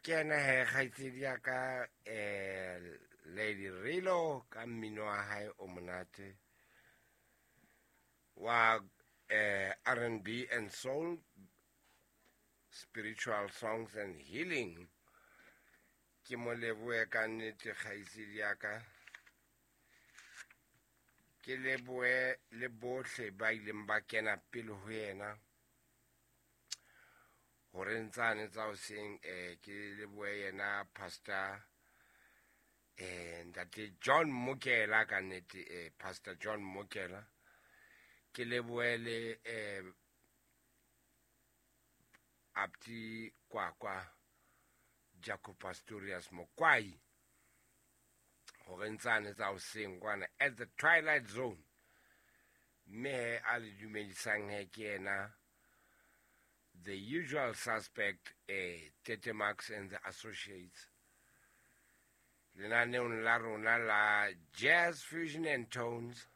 Kena he kgaitsedi ya ka, Lady Rilo, ka mmino wa hae o monate wa R&B and soul, spiritual songs and healing. Ke mo lebohe ka nnete kgaitsedi ya ka. Ke lebohe le bohle ba ileng ba kena pele ho yena hore ntsane tsa hoseng. Ke lebohe yena Pastor Ntate John Mokela, ka nnete, Pastor John Mokela. Ke lebohe le Apti Kwakwa Jaco Pastorius Mokwai hore ntsane tsa hoseng kwana at the Twilight Zone. Mme he a le dumedisang he ke yena the usual suspect, Tete Max and the Associates, lenaneong la rona la Jazz Fusion and Tones,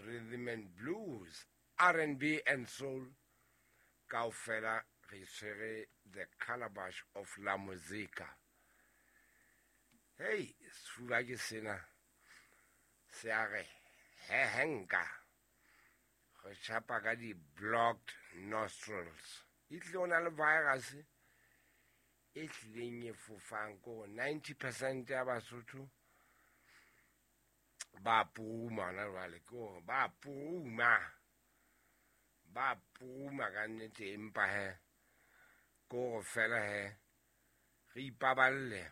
Rhythm and Blues, R&B and Soul. Kaofela re tshwere the calabash of la musica. Hey, sefuba ke sena se a re hehenka, re tjhapa ka di-blocked nostrils. E tlile o na le virus e hlileng e fofang ko 90% ya Basotho ba puruma hona jwale. Ke hore ba puruma, ba puruma ka nnete, empa he ke hore fela he re ipaballe.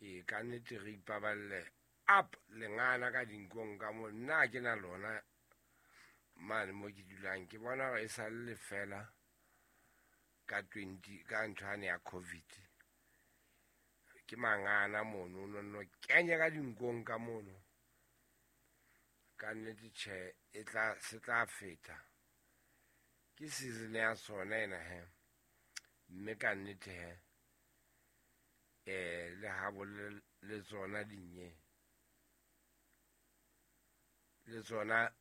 E ka nnete re ipaballe up lengana ka dinkong ka mo. Nna ke na lona mane mo ke dulang, ke bona hore e sa le fela ka 20 ka nthwane ya COVID. Ke mangana mono, no no kenye ka dinkong ka mono. Ka nnete tjhe, e tla se tla feta, ke season ya sona ena he. Mme ka nnete he, le ha bo le tsona dinye le tsona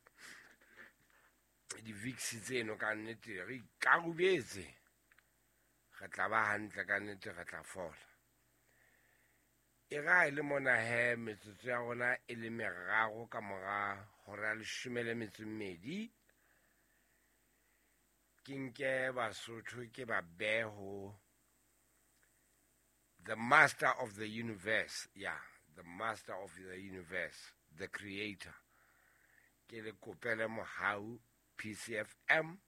di-Vicks tseno, ka nnete re ikarubetse, re tla ba hantle ka nnete, re tla fola. E ra e le mona he metsotso ya rona e le 3 ka mora hora ya 12. Ke nke Basotho ke ba beho the master of the universe, yeah, the master of the universe, the creator. Ke le kopele mohau PCFM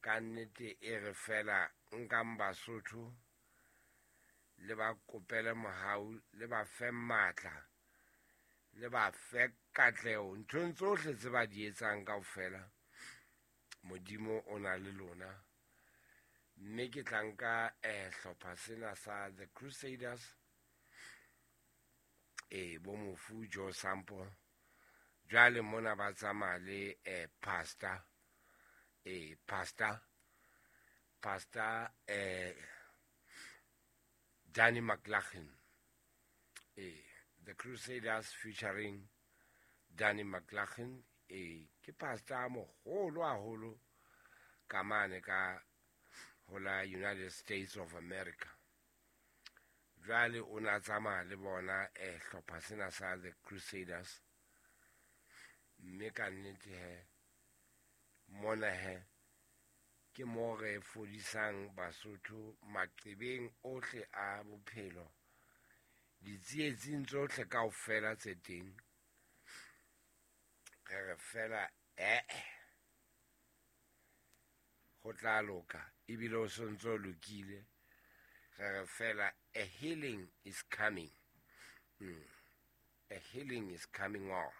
ka nnete, e re fela nkang Basotho le ba kopele mohau, le ba fe matla, le ba fe katleho nthong tsohle tse ba di etsang kaofela. Modimo o na le lona. Mme ke tla nka hlopha sena sa The Crusaders, bo mofu Joe Sample. Jwale mona ba tsamaya le pastor, pastor Danny McLaughlin. The Crusaders featuring Danny McLaughlin. Ke pastor moholo haholo ka mane ka ho la United States of America. Jwale o na tsamaya le bona hlopha sena sa The Crusaders. Mme ka nnete he mona he ke mo re fodisang Basotho maqebeng ohle a bophelo, ditsietsing tsohle kaofela tse teng. Re re fela ho tla loka, ebile o sontso o lokile. Re re fela a healing is coming. A healing is coming on.